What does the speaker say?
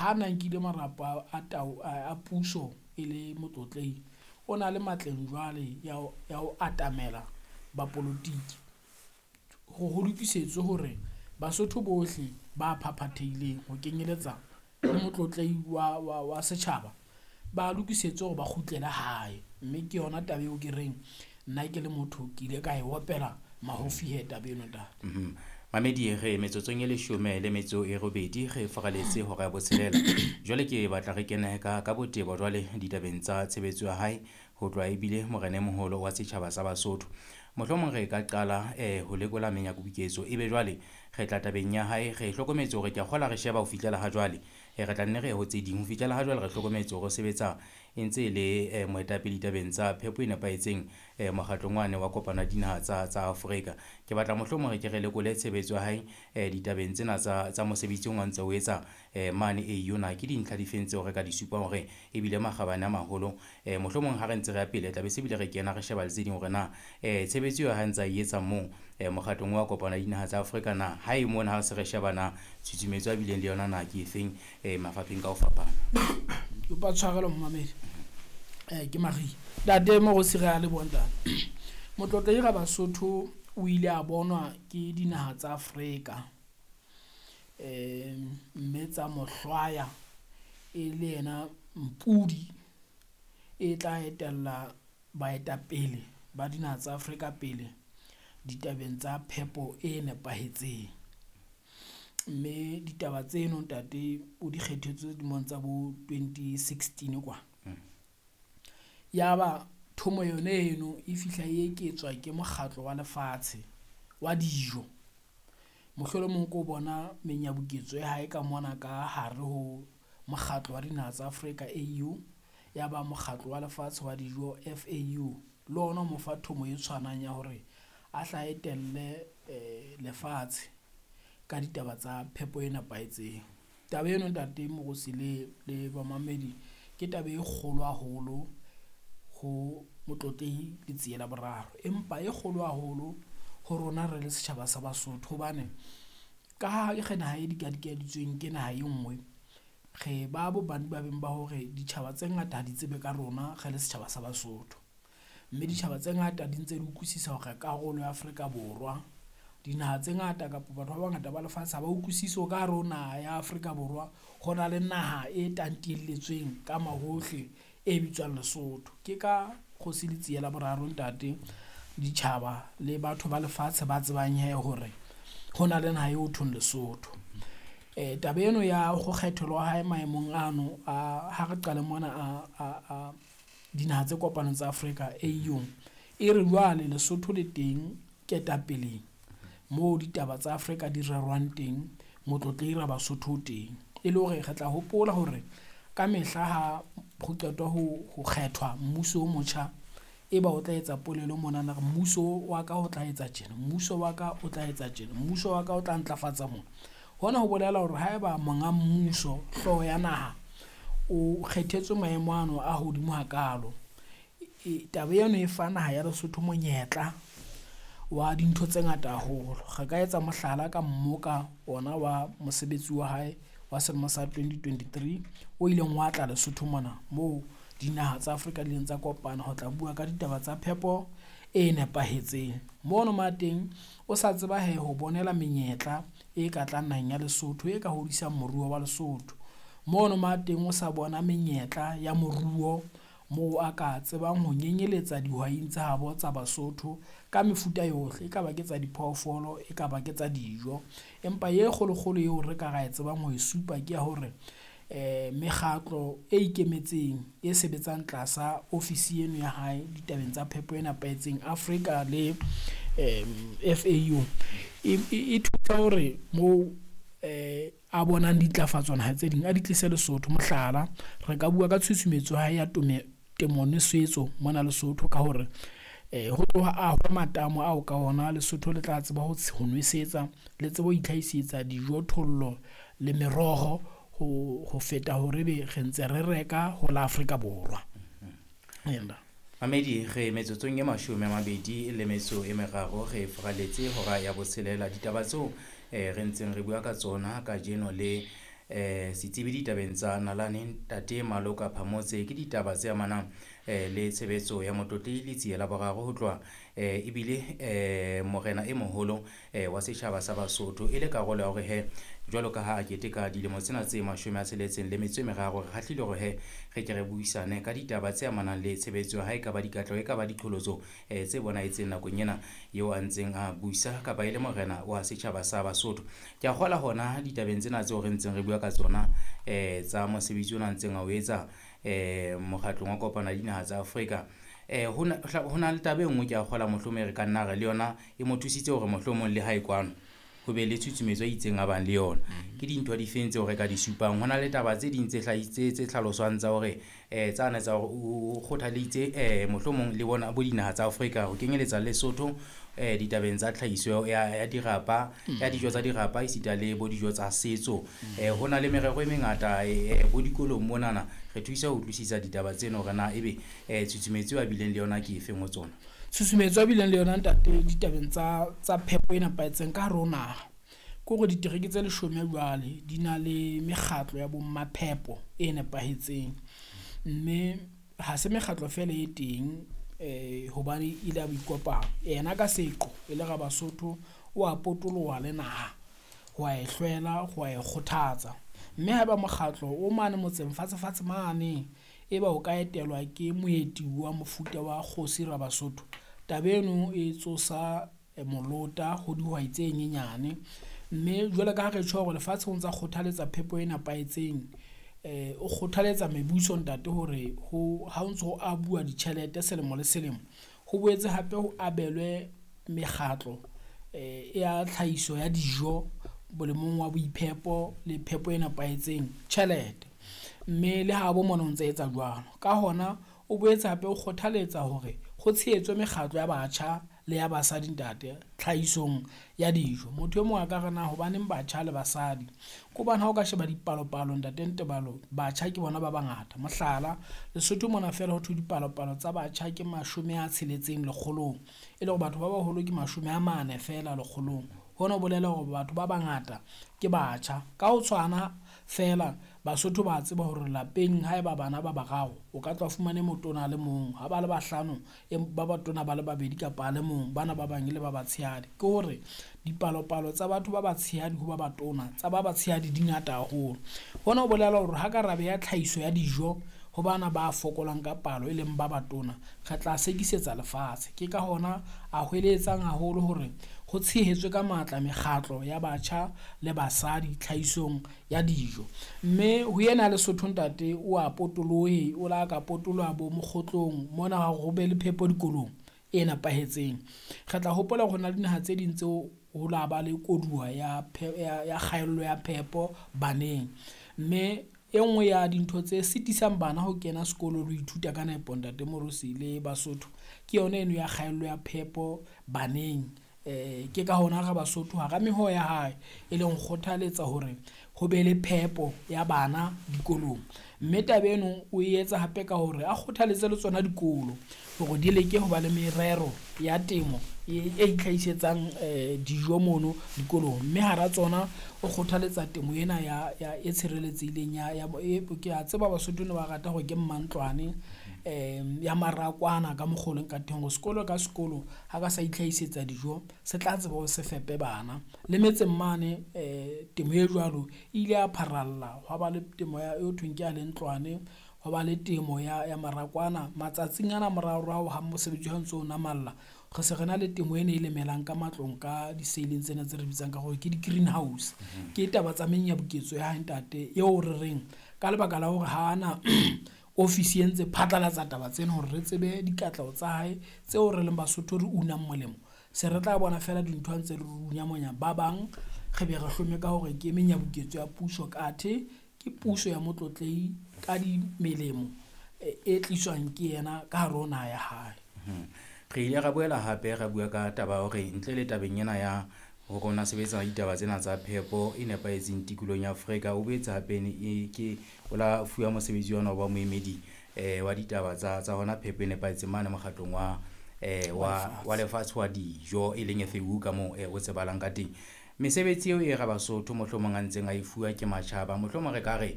Ha na nkile marapo a tao a puso e le motlotlehi, o na le matleng jwale ya ho atamela bapolotiki ho lokisetswe hore Basotho bohle ba phaphathehileng ho kenyeletsa le motlotlehi wa setjhaba, ba lokisetswe hore ba kgutlele hae. Mme ke yona taba eo ke reng nna ke le motho ke ile ka e opela mahofi hee taba eno ntate. Mamedi re metsotsong e 18 re faraletse hora ya botshelela. Jwale ke batla re kene ka botebo jwale ditabeng tsa tshebetso ya hae ho tloha ebile morena e moholo wa setjhaba sa Basotho. Mohlomong re ka qala ho lekola menyabuketso ebe jwale re tla tabeng ya hae, re hlokometse hore ke a kgola re sheba ho fihlela ha jwale. Re tla nne re ye ho tse ding. Ho fihlela ha jwale re hlokometse hore o sebetsa e ntse e le moetapele ditabeng tsa phepo e nepahetseng mokgatlong wane wa kopano ya dinaha tsa Afrika. Ke batla mohlomong re ke re lekole tshebetso ya hae ditabeng tsena tsa mosebetsi o ntse o etsa mane AU na ke dintlha difeng tseo re ka di supang hore ebile makgabane a maholo. Mohlomong ha re ntse re ya pele tla be se bile re kena re sheba le tse ding hore na tshebetso eo ha ntse a e etsa moo mokgatlong wa kopano ya dinaha tsa Afrika na ha e mona ha se re sheba na tshusumetso a bileng le yona na ke efeng mafapheng ka ho fapana. Kopa tshwarelo momamedi. Ke Marie. Ntate Morusi re a leboha ntate. Motlotlehi Rabasotho o ile a bonwa ke dinaha tsa Afrika mme tsa mo hlwaya e le yena mpudi e tla etella baetapele ba dinaha tsa Afrika pele ditabeng tsa phepo e nepahetseng. Mme ditaba tseno ntate o di kgethetswe dilemong tsa bo 2016 kwa. Ya ba thomo yone eno e fihla e eketswa ke mokgatlo wa lefatshe wa dijo. Mohlolomong ko bona menyabuketso ya hae ka mona ka hare ho mokgatlo wa dinaha tsa Afrika AU, ya ba mokgatlo wa lefatshe wa dijo FAU le ona o mo fa thomo e tshwanang ya hore a hla etelle lefatshe ka ditaba tsa phepo e nepahetseng. Taba eno ntate Morusi le bamamedi ke taba e kgolo haholo ho Motlotlehi Letsie la Boraro, empa e kgolo haholo ho rona re le setjhaba sa Basotho hobane ka ha re naha e dikadikeditsweng ke naha e nngwe, re ba bo ba hore ditjhaba tse ngata ha di tsebe ka rona re le setjhaba sa Basotho. Mme ditjhaba tse ngata di ntse di utlwisisa hore karolo ya Afrika Borwa. Dinaha tse ngata kapa batho ba bangata ba lefatshe ha ba utlwisise hore ka hare ho naha ya Afrika Borwa ho na le naha e tantelletsweng ka mahohle e bitswang Lesotho. Ke ka Kgosi Letsie la Boraro ntate, ditjhaba le batho ba lefatshe ba tsebang hee hore ho na le naha eo thweng Lesotho. Taba eno ya ho kgethelwa hae maemong ano a ha re qale mona a dinaha tse kopaneng tsa Afrika AU, e re jwale Lesotho le teng ketapeleng moo ditaba tsa Afrika di rerwang teng, Motlotlehi Rabasotho o teng. E le hore re tla hopola hore ka mehla ha ho qetwa ho kgethwa mmuso o motjha, e ba o tla etsa polelo monana re mmuso wa ka o tla etsa tjena, mmuso wa ka o tla etsa tjena, mmuso wa ka o tla ntlafatsa mona. Hona ho bolela hore haeba monga mmuso, hlooho ya naha, o kgethetswe maemo ano a hodimo hakalo, taba eno e fa naha ya Lesotho monyetla wa dintho tse ngata haholo. Re ka etsa mohlala ka mmoka ona wa mosebetsi wa hae wa selemo sa 2023 o ileng wa tla Lesotho mona, moo dinaha tsa Afrika di ileng tsa kopana ho tla bua ka ditaba tsa phepo e nepahetseng. Mono ma teng o sa tseba hee ho bonela menyetla e ka tlang naheng ya Lesotho e ka hodisang moruo wa Lesotho. Mono ma teng o sa bona menyetla ya moruo moo a ka tsebang ho nyenyeletsa dihwaing tsa habo tsa Basotho ka mefuta yohle, e ka ba ke tsa diphoofolo, e ka ba ke tsa dijo. Empa e kgolokgolo eo re ka ra e tsebang ho e supa ke ya hore mekgatlo e ikemetseng e sebetsang tlasa ofisi eno ya hae ditabeng tsa phepo e nepahetseng Afrika le FAU e thusa hore moo a bonang ditlafatso naha tse ding a di tlise Lesotho. Mohlala, re ka bua ka tshusumetso ya hae ya temo nwesetso mona Lesotho ka hore ho tloha ahwa matamo ao ka ona Lesotho le tla tseba ho nwesetsa, le tsebe ho itlhahisetsa dijothollo le meroho ho feta hore ebe re ntse re reka ho la Afrika Borwa. Mamedi re metsotsong e 23 re faraletse hora ya botshelela. Ditaba tseo re ntseng re bua ka tsona kajeno le Setsebi ditabeng tsa nalane ntate Maloka Phamotse. Ke ditaba tse amanang le tshebetso ya Motlotlehi Letsie la Boraro ho tloha ebile morena e moholo wa setjhaba sa Basotho, e le karolo ya hore he jwalo ka ha a keteka dilemo tsena tse 63, re kgahlile hore he re ke re buisane ka ditaba tse amanang le tshebetso ya hae, ka ba dikatleho, e ka ba diqholotso tse bonahetseng nakong ena eo a ntseng a busa kapa e le morena wa setjhaba sa Basotho. Ke a kgola hona ditabeng tsena tseo re ntseng re bua ka tsona tsa mosebetsi ona ntseng a o etsa mokgatlong wa kopano ya dinaha tsa Afrika. Ho na le taba e nngwe ke a kgola mohlomong re ka nna re le yona e mo thusitse hore mohlomong le hae kwano ho be le tshutshumetso e itseng a bang le yona. Ke dintho difeng tseo re ka di supang? Ho na le taba tse ding tse tse hlaloswang tsa hore tsane tsa hore o kgothaleditse mohlomong le bona bo dinaha tsa Afrika ho kenyeletsa Lesotho ditabeng tsa tlhahiso ya dirapa, ya dijo tsa dirapa esita le bo dijo tsa setso. Ho na le merero e mengata bo dikolong monana re thusa ho utlwisisa ditaba tseno hore na ebe tshutshumetso a bileng le yona ke efeng ho tsona. Tshusumetso a bileng le yona ntate ditabeng tsa phepo e nepahetseng ka hare ho naha ke hore ditereke tse 10 jwale di na le mekgatlo ya bommaphepo e nepahetseng, mme ha se mekgatlo fela e teng hobane ile a boikopano. Yena ka seqo e le Rabasotho o a potoloha le naha ho a e hlwela, ho a e kgothatsa. Mme haeba mokgatlo o mane motseng fatshe fatshe mane e ba o ka etelwa ke moeti wa mofuta wa kgosi Rabasotho, taba eno e tsosa molota ho dihwai tse nyenyane. Mme jwalo ka ha re tjho hore lefatshe o ntsa kgothaletsa phepo e nepahetseng, o kgothaletsa mebuso ntate hore ha o ntso ho abuwa ditjhelete selemo le selemo, ho boetse hape ho abelwe mekgatlo ya tlhahiso ya dijo bolemong wa boiphepo le phepo e nepahetseng tjhelete. Mme le ha bo mona o ntse etsa jwalo. Ka hona o boetse hape o kgothaletsa hore ho tshehetswe mekgatlo ya batjha le ya basadi ntate tlhahisong ya dijo. Motho e mong a ka re na hobaneng batjha le basadi? Ke hobane ha o ka sheba dipalopalo ntate Ntebalo, batjha ke bona ba bangata. Mohlala, Lesotho mona feela ho thwe dipalopalo tsa batjha ke 60 lekgolong, e le hore batho ba baholo ke 40 feela lekgolong. Hona ho bolela hore batho ba bangata ke batjha. Ka ho tshwana feela Basotho ba tseba hore lapeng haeba bana ba bararo, o ka tla fumane motona a le mong, ha ba le bahlano ba batona ba le babedi kapa a le mong, bana ba bang le ba batshehadi. Ke hore dipalopalo tsa batho ba batshehadi ho ba batona, tsa ba batshehadi di ngata haholo. Hona ho bolela hore ha ka ra beha tlhahiso ya dijo ho bana ba fokolang ka palo e leng ba batona, re tla sekisetsa lefatshe. Ke ka hona a hweletsang haholo hore ho tshehetswe ka matla mekgatlo ya batjha le basadi tlhahisong ya dijo. Mme ho yena Lesotho ntate o a potolohe, o la ka potoloha bo mokgotlong mona ho be le phepo dikolong e nepahetseng. Re tla hopola hore ho na le dinaha tse ding tseo ho la ba le koduwa ya kgaello ya phepo baneng. Mme e nngwe ya dintho tse sitisang bana ho kena sekolo le ho ithuta ka nepo ntate Morusi le Basotho ke yona eno ya kgaello ya phepo baneng. Ke ka hona re Basotho hara meho ya hae e leng kgothaletsa hore ho be le phepo ya bana dikolong. Mme taba eno o e etsa hape ka hore a kgothaletse le tsona dikolo hore di leke ho ba le merero ya temo e itlhahisetsang dijo mono dikolong. Mme hara tsona o kgothaletsa temo ena ya e tshireletsehileng ya ke a tseba Basotho ne ba rata hore ke mmantlwane ya marakwana ka mokgo leng ka teng, hore sekolo ka sekolo ha ka sa itlhahisetsa dijo se tla tseba ho se fepe bana. Le metseng mane temo e jwalo e ile ya pharalla, hwa ba le temo ya e thweng ke ya lentlwane, hwa ba le temo ya marakwana. Matsatsing ana moraorao ha mosebetsi ha o ntso namalla, re se re na le temo ena e lemelang ka matlong ka diseileng tsena tse re bitsang ka hore ke di-greenhouse. Ke taba tsa menyabuketso ya hae ntate eo re reng ka lebaka la hore ha ana ofisi e ntse phatlalatsa taba tsena hore re tsebe dikatleho tsa hae tseo re leng Basotho re unang molemo, se re tla bona fela dintho ntse re runya monya ba bang re be re hlome ka hore ke menyabuketso ya puso, kathe ke puso ya Motlotlehi ka di melemo e tliswang ke yena ka hare ho naha ya hae. Re ile ra boela hape ra bua ka taba ya hore ntle le tabeng ena ya hore o na sebetsa ditaba tsena tsa phepo e nepahetseng tikolong ya Afrika, o boetse hape ke o la fuwa mosebetsi ona wa moemedi wa ditaba tsa hona phepo e nepahetseng mane mokgatlong wa lefatshe wa dijo e leng FAO ka moo o tsebahalang ka teng. Mesebetsi eo e Rabasotho mohlomong a ntseng a e fuwa ke matjhaba, mohlomong re ka re